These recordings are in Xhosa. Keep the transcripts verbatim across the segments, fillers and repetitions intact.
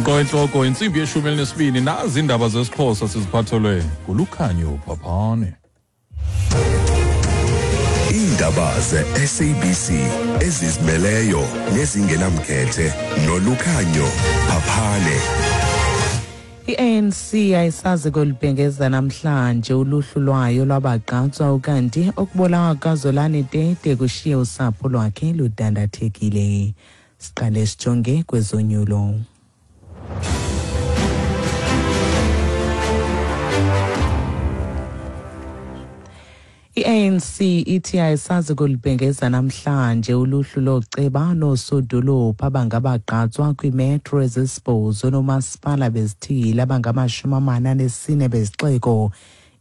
Nko intsimbi yeshumi elinesibini, nazi iindaba zesiXhosa siziphathelwe nguLukhanyo Phaphane. Iindaba ze-S A B C ezizimeleyo nezingenamkhethe noLukhanyo Phaphane. I-A N C ayisazi kolubhengeza namhlanje uluhlu lwayo lwabagqatswa, ukanti okubulawa kukaZolani Tete kushiye usapho lwakhe ludandathekile. Siqale sijonge kwezonyulo. I-A N C ithi ayisazi kulibhengeza namhlanje uluhlu loceba noosodolophu abangabagqatswa kwiimetro ezisibhozo noomasipala bezithili abangamashumi amane anesine bezixeko.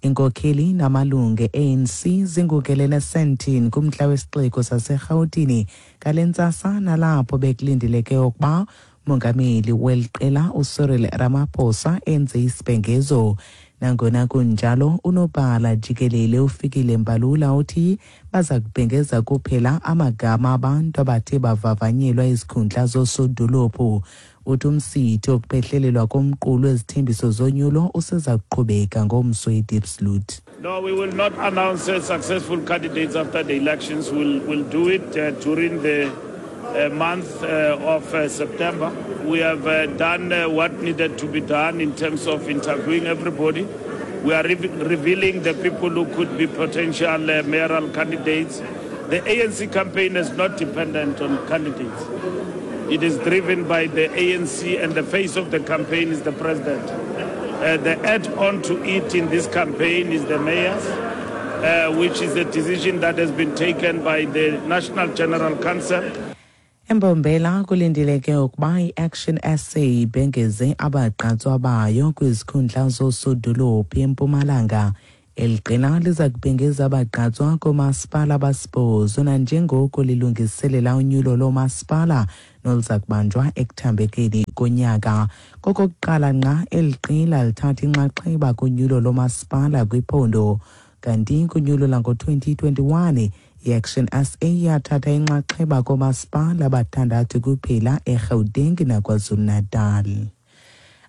Inkokheli namalungu e-A N C zingukelene Sandton kumntla wesixeko saseRhawutini ngale ntsasa, nalapho bekulindeleke ukuba umongameli weli qela uCyril Ramaphosa enze isibhengezo. Nangona kunjalo, unobhala jikelele uFikile Mbalula uthi baza kubhengeza kuphela amagama abantu abathe bavavanyelwa izikhundla zoosodolophu. Uthi umsitho wokuphehlelelwa komqulu wezithembiso zonyulo useza kuqhubeka ngomso eDiepsloot. No, we will not announce successful candidates after the elections. We'll, we'll do it uh, during the uh, month uh, of uh, September. We have uh, done uh, what needed to be done in terms of interviewing everybody. We are re- revealing the people who could be potential uh, mayoral candidates. The A N C campaign is not dependent on candidates. It is driven by the A N C, and the face of the campaign is the president. Uh, the add-on to it in this campaign is the mayors, uh, which is a decision that has been taken by the National General Council. Embombela kulindeleke ukuba i-Action S A ibhengeze abagqatswa bayo kwizikhundla zoosodolophu eMpumalanga. Eli qela liza kubhengeza abagqatswa koomasipala abasibhozo nanjengoko lilungiselela unyulo loomasipala noluza kubanjwa ekuthambekeni konyaka. Kokokuqala ngqa eli qela lithatha inxaxheba kunyulo loomasipala kwiphondo. Kanti kunyulo lango-twenty twenty-one, i-Action S A yathatha inxaxheba koomasipala abathandathu kuphela eGauteng naKwaZulu-Natal.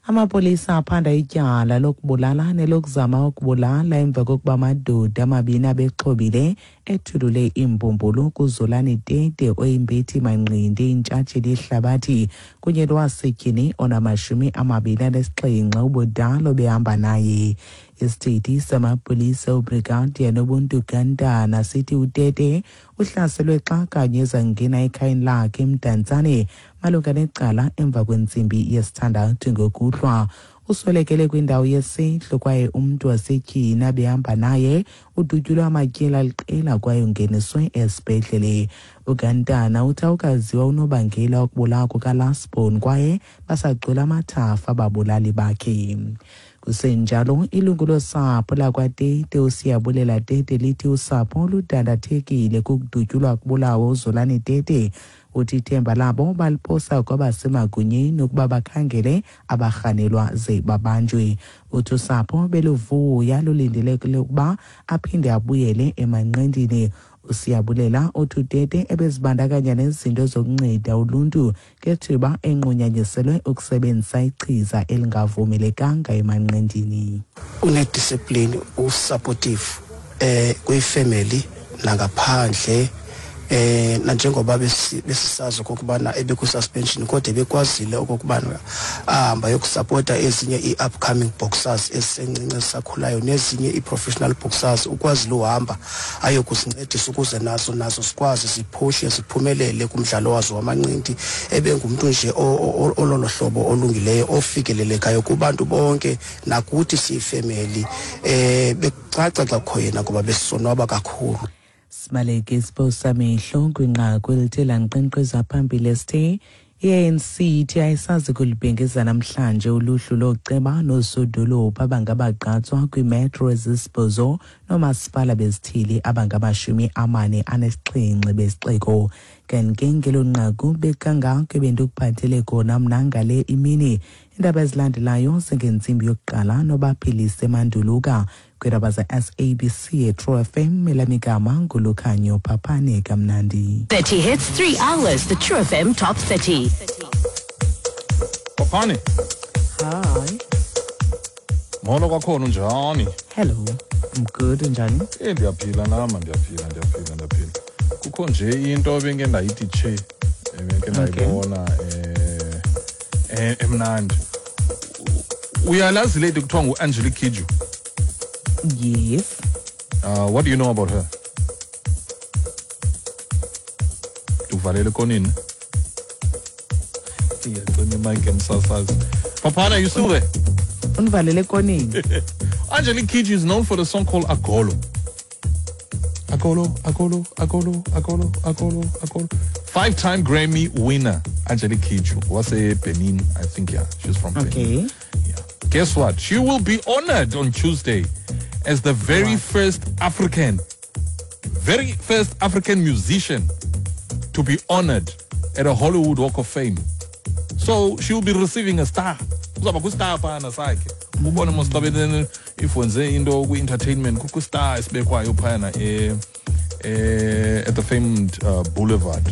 Amapolisa aphanda ityala lokubulala nelokuzama ukubulala emva kokuba amadoda amabini abexhobile ethulule iimbumbulu kuZolani Tete oyimbethi manqindi intshatsheli yehlabathi kunye nowasetyhini onamashumi amabini anesixhenxe ubudala obehamba naye. Isithethi samapolisa uBrigadier Nobuntu Gantana sithi uTete uhlaselwe xa kanye ezangena ekhayeni lakhe eMdantsane malunga necala emva kwentsimbi yesithandathu ngokuhlwa. Uswelekele kwindawo yesehlo kwaye umntu wasetyhini abehamba naye udutyulwe amatyeli aliqela kwaye ungeniswe esibhedlele. UGantana uthi awukaziwa unobangela wokubulawa kukaLasbon kwaye basagcwele amathafa ababulali bakhe. Kusenjalo, ilungu losapho lakwaTete uSiyabulela Tete lithi usapho ludandathekile kukudutyulwa kubulawa uZolani Tete. Uthi ithemba labo baliphosa kwabasemagunyeni ukuba bakhangele abarhanelwa ze babanjwe. Uthi usapho beluvuya lulindelekile ukuba aphinde abuyele emanqindini. uSiyabulela uthi uTete ebezibandakanya nezinto zokunceda uluntu ngethuba enqunyanyiselwe ukusebenzisa ichiza elingavumelekanga emanqindini. Unediscipline, usupportive eh kwifamily nangaphandle. Eh nanjengoba besisazi okokubana ebeku suspension kodwa bekwazile okokubana ahamba yokusupporta ezinye i-upcoming boxers ezisencinci ezisakhulayo nezinye i-professional boxers, ukwazile uhamba ayokusincedisa ukuze nazo nazo sikwazi ziphuhle ziphumelele kumdlalo wazo wamanqindi. Ebengumntu nje ololo hlobo olungileyo ofikelelekayo kubantu bonke nakuthi siyifamily. Eh bekucaca xa kukho yena ngoba besonwaba kakhulu. Sibaleke isiphosa mehlo kwinqaku elithe lanqenqeza phambili esithe I-A N C ithi ayisazi kulibhengeza namhlanje uluhlu loceba noosodolophu abangabagqatswa kwiimetro ezisibhozo noomasipala bezithili abangamashumi amane anesixhenxe besixeko. Kanti ngelo nqaku bekangako ebendikuphathele kona mna ngale imini. Iindaba ezilandelayo zingentsimbi yokuqala nobaphilise Manduluka. Kwiindaba ze-S A B C True F M, elamigama nguLukhanyo Phaphane kamnandi. thirty hits, three hours, the True F M Top thirty. Papane. Hi. Molo kwakhona unjani? Hello. I'm good, unjani? Eh ndiyaphila nama ndiyaphila ndiyaphila ndiyaphila. Kukho nje into ebengike ndayithi che ebengike ndayibona eh emnandi. Uyalazi lady kuthiwa ngu-Angelique Kidjo? Yes. Uh, what do you know about her? Uvalele konini? Iyacima imic emsasazi. Papana, you still there? Unvalele konini. Angelique Kidjo is known for the song called Agolo. Agolo, Agolo, Agolo, Agolo, Agolo, Agolo. Five-time Grammy winner, Angelique Kidjo. Was a Benin, I think, yeah. She's from okay. Benin. Yeah. Guess what? She will be honored on Tuesday as the very wow. first African, very first African musician to be honored at a Hollywood Walk of Fame. So she will be receiving a star. Uzaba ku-star phana sakhe. Ubone mos xa bene if wenze into kwi-entertainment kukho star esibekwayo phana eh, eh, at the famed uh, Boulevard.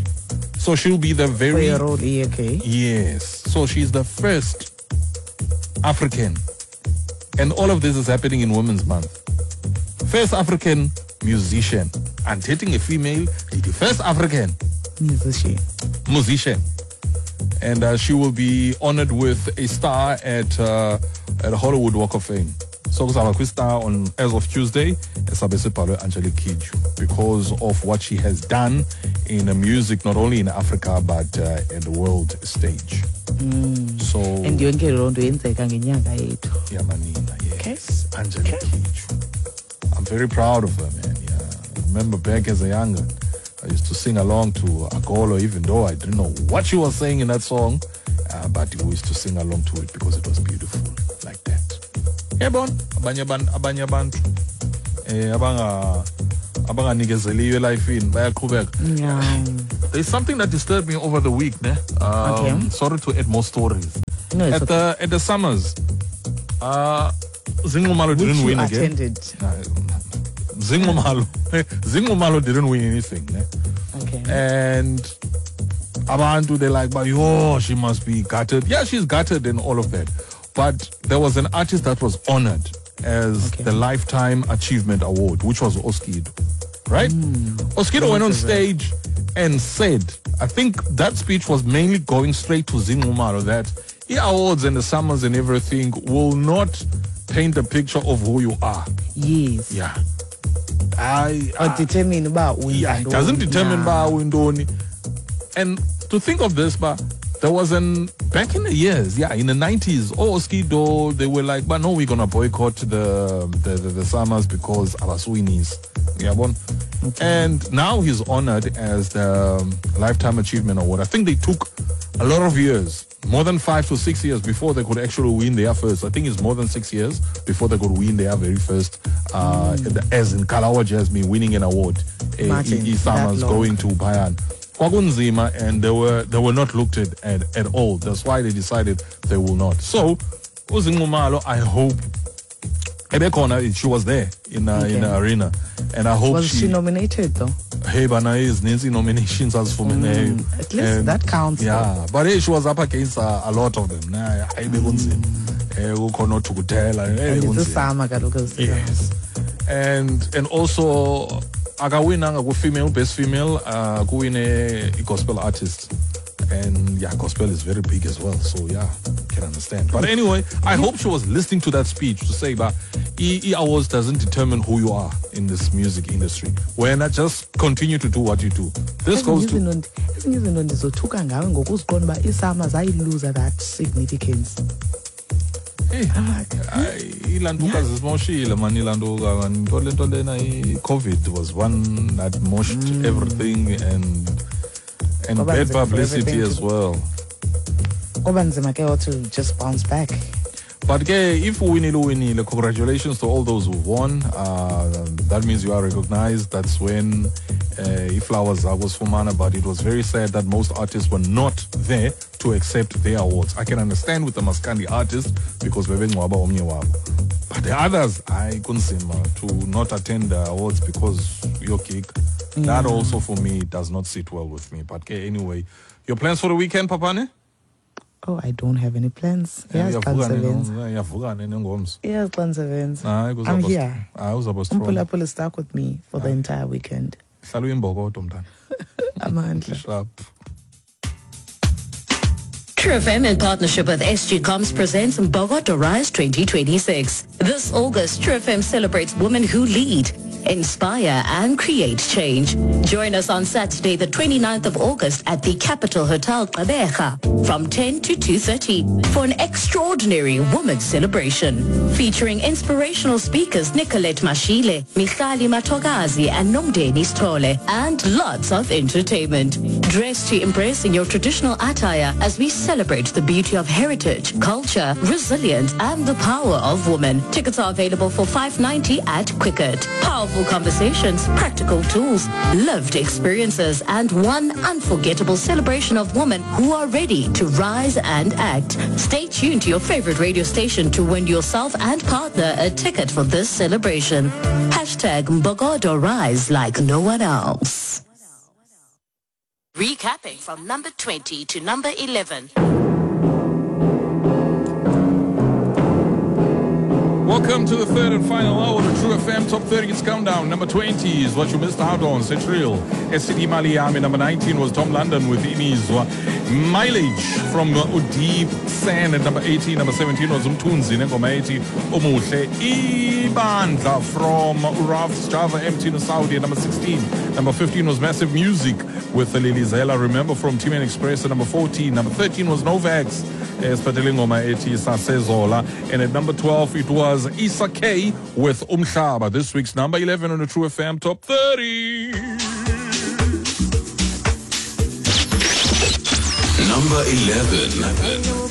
So she'll be the very role, okay. Yes. So she's the first African. And all of this is happening in Women's Month. First African musician. And dating a female, the first African musician. Musician. And uh, she will be honored with a star at uh, at Hollywood Walk of Fame. So kuzaba star on as of Tuesday, Angelique Kidjo, because of what she has done in the music, not only in Africa but uh, at the world stage. Mm. So and yonke loo nto yenzeka ngenyanga yethu. Yeah, manina, yes. Okay. Angelique okay. Kidjo. I'm very proud of her, man. Yeah. I remember back as a younger, I used to sing along to Agolo, even though I didn't know what she was saying in that song, uh, but we used to sing along to it because it was beautiful like that. Yabona, abanye abantu abanye abantu eh abanga abanganikezeliwe elifini bayaqhubeka. Yeah. There's something that disturbed me over the week, ne? Um, okay. Sorry to add more stories. No, it's at okay. the at the summers, uh, Zinxumalo didn't win again. Attended. Uh, Zinxumalo, Zinxumalo didn't win anything, ne? Okay. And abantu, they're like, but yo, she must be gutted. Yeah, she's gutted and all of that. But there was an artist that was honored as okay. the Lifetime Achievement Award, which was Oskido, right? Mm. Oskido went on stage and said, I think that speech was mainly going straight to Zinxumalo, that the awards and the summers and everything will not paint a picture of who you are. Yes. Yeah. I, or determine about yeah, it doesn't determine yeah. about And to think of this, but there was an back in the years, yeah, in the nineties, oh, Oskido, they were like, but no, we're gonna boycott the the, the, the summers because abasuinis. Yeah, bon. Okay. And now he's honored as the Lifetime Achievement Award. I think they took a lot of years, more than five to six years before they could actually win their first. I think it's more than six years before they could win their very first, uh, mm. as in Kalawa Jasmine winning an award. Martin, e, e, Summers going to Bayan. Kwakunzima, and they were they were not looked at, at at all. That's why they decided they will not. So, uZinxumalo, I hope ebekona, she was there in uh, okay. in the arena, and I hope was she, she nominated though. Hey, bana is Nancy nominations as for me. At least that counts. Yeah, though. But hey, she was up against uh, a lot of them. Nah, mm. And it's the kaloku. Yes, and and also akawinanga ku female best female uh kuwine gospel artist. And yeah, gospel is very big as well, so yeah, can understand. But anyway, I hope she was listening to that speech to say that E E awards doesn't determine who you are in this music industry. When I just continue to do what you do. This goes to ezinye izinto ndizothuka ngawe ngokuziqonda uba iSAMA zayiluza that significance. Hey, ilantuka zisimoshile man, ilantuka man. Into lento lena i-COVID was one that moshed mm. everything and and bad publicity as well. Kwaba nzima ke to just bounce back. But ke, if uwinile uwinile, congratulations to all those who won. Uh, that means you are recognized. That's when uh, flowers zakho zifumana. But it was very sad that most artists were not there to accept their awards. I can understand with the Maskandi artists because bebengcwaba omnye wabo. But the others, I kunzima to not attend the awards because your gig. Mm. That also for me does not sit well with me. But okay, anyway, your plans for the weekend, Papane? Oh, I don't have any plans. Yes, xa ndisebenza. Uyavuka nini ngomso? Yes, xa ndisebenza. Hayi, I'm here. Hayi, uzawuba strong. Umpulaphula is stuck with me for the entire weekend. Hlala uyimbokodo mntana. Amandla. Sharp. True F M in partnership with S G Comms presents Mbokodo Rise twenty twenty-six. This August, True F M celebrates women who lead, inspire and create change. Join us on Saturday, the twenty-ninth of August at the Capital Hotel Gqeberha from ten to two thirty for an extraordinary women's celebration featuring inspirational speakers Nicolette Mashile, Michali Matogazi and Nomdeni Stole, and lots of entertainment. Dress to impress in your traditional attire as we celebrate the beauty of heritage, culture, resilience and the power of women. Tickets are available for five ninety at Quicket. Powerful conversations, practical tools, lived experiences, and one unforgettable celebration of women who are ready to rise and act. Stay tuned to your favorite radio station to win yourself and partner a ticket for this celebration. Hashtag Mbokodo Rise like no one else. Recapping from number twenty to number eleven. Welcome to the third and final hour of the True F M Top thirty It's Countdown. Number twenty is what you missed out on, Central. S C D Maliami. Number nineteen was Tom London with Imizwa. Mileage from Udeep Sand at number eighteen. Number seventeen was Umthunzi Nengoma eighty. Umuhle Ibandla from Uraf Java M T Saudi at number sixteen. Number fifteen was Massive Music with Lily Zela. Remember from Team N Express at number fourteen. Number thirteen was Novax. Esiphathele ingoma ethi Sasezola. And at number twelve it was Issa K with Umhlaba. This week's number eleven on the True F M Top thirty. Number eleven.